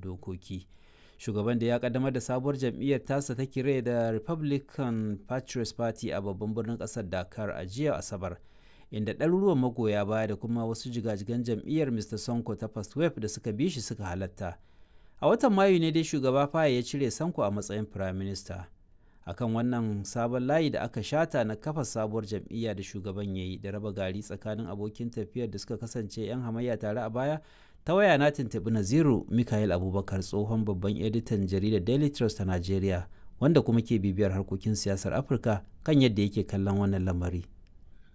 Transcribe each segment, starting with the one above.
Dokoki. Shugaban da ya kaddamar da sabuwar jam'iyyar tasa ta kire da Republican Patriots Party a babban birnin kasar Dakar a jiya Asabar, inda ɗaruruwan magoya baya da kuma wasu jigajigan jam'iyyar Mr. Sonko ta First Wave da suka bi shi suka halatta. A watan Mayu ne dai shugaba Faye ya cire Sanko a matsayin Prime Minister. Akan wannan sabon layi da aka shata na kafa sabuwar jam'iyya da shugaban ya yi da raba gari tsakanin abokin tafiyar da suka kasance 'yan hamayya tare a baya, ta waya na tuntuɓi Naziru Mikael Abubakar, tsohon babban editan jaridar Daily Trust ta Najeriya, wanda kuma ke bibiyar harkokin siyasar Afirka, kan yadda yake kallon wannan lamari.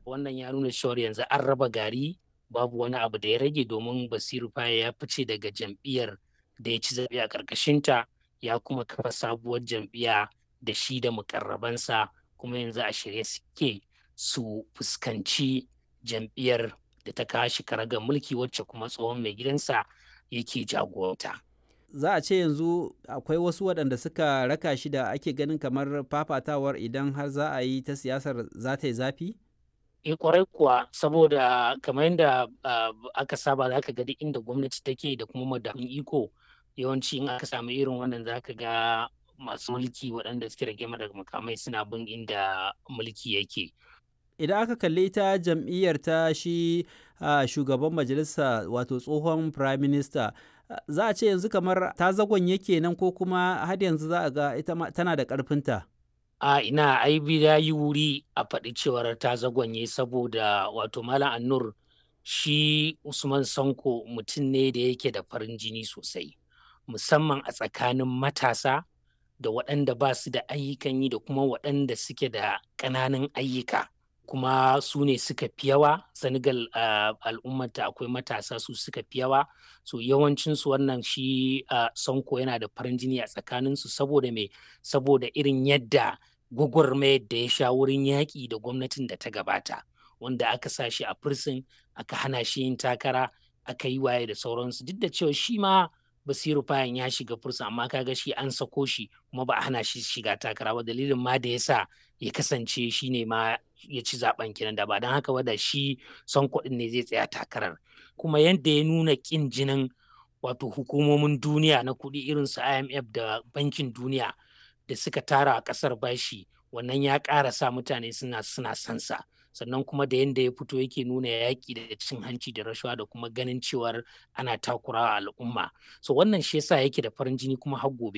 Wannan ya nuna cewar yanzu an raba gari, babu wani abu da ya rage, domin Basiru Faye ya fice daga jam'iyyar da ya ci zaɓe a ƙarƙashinta, ya kuma kafa sabuwar jam'iyya da shi da mukarrabansa, kuma yanzu a shirye suke su fuskanci jam'iyyar da ta kawo shi karagar mulki, wacce kuma tsohon mai gidansa yake jagoranta. Za a ce yanzu akwai wasu waɗanda suka raka shi da ake ganin kamar fafatawar, idan har za a yi ta siyasar, za ta yi zafi? E, kwarai kuwa, saboda kamar yadda aka saba, za ka ga duk inda gwamnati take da kuma madafun iko, yawanci in aka samu irin wannan, za ka ga masu mulki waɗanda suke rage daga makamai suna bin inda mulki yake. Idan aka kalli ita jam'iyyar ta shi shugaban majalisa, wato tsohon prime minister, za a ce yanzu kamar ta zagon yake nan, ko kuma har yanzu za a ga ita tana da ƙarfinta? A ina, ai ya yi wuri a faɗi cewar ta zagonye, saboda wato Malam Annur, shi Usman Sanko mutum ne da yake da farin jini sosai, musamman a tsakanin matasa da waɗanda ba su da ayyukan yi da kuma waɗanda suke da ƙananan ayyuka, kuma su ne suka fi yawa Senegal. Al'ummata akwai matasa, su suka fi yawa. So yawancinsu wannan shi Sonko yana da farin jini a tsakaninsu. Saboda me? Saboda irin yadda gwagwarmayar da ya sha wurin yaƙi da gwamnatin da ta gabata, wanda aka sa shi a prison, aka hana shi yin takara, aka yi waye da sauransu, duk da cewa shi ma Basiru Fayan ya shiga fursa, amma kaga shi an sako shi kuma ba a hana shi shiga takara ba. Dalilin ma da yasa ya kasance shi ne ma ya ci zaben kenan. Da ba don haka ba, da shi son kuɗin ne zai tsaya takarar. Kuma yadda ya nuna ƙin jinin wato hukumomin duniya na kuɗi irin su IMF da Bankin Duniya da suka tara a ƙasar bashi, wannan ya ƙara sa mutane suna sansa. Sannan kuma da yadda ya fito yake nuna yaƙi da cin hanci da rashawa da kuma ganin cewar ana takurawa al'umma, so wannan shi yasa yake da farin jini kuma har gobe.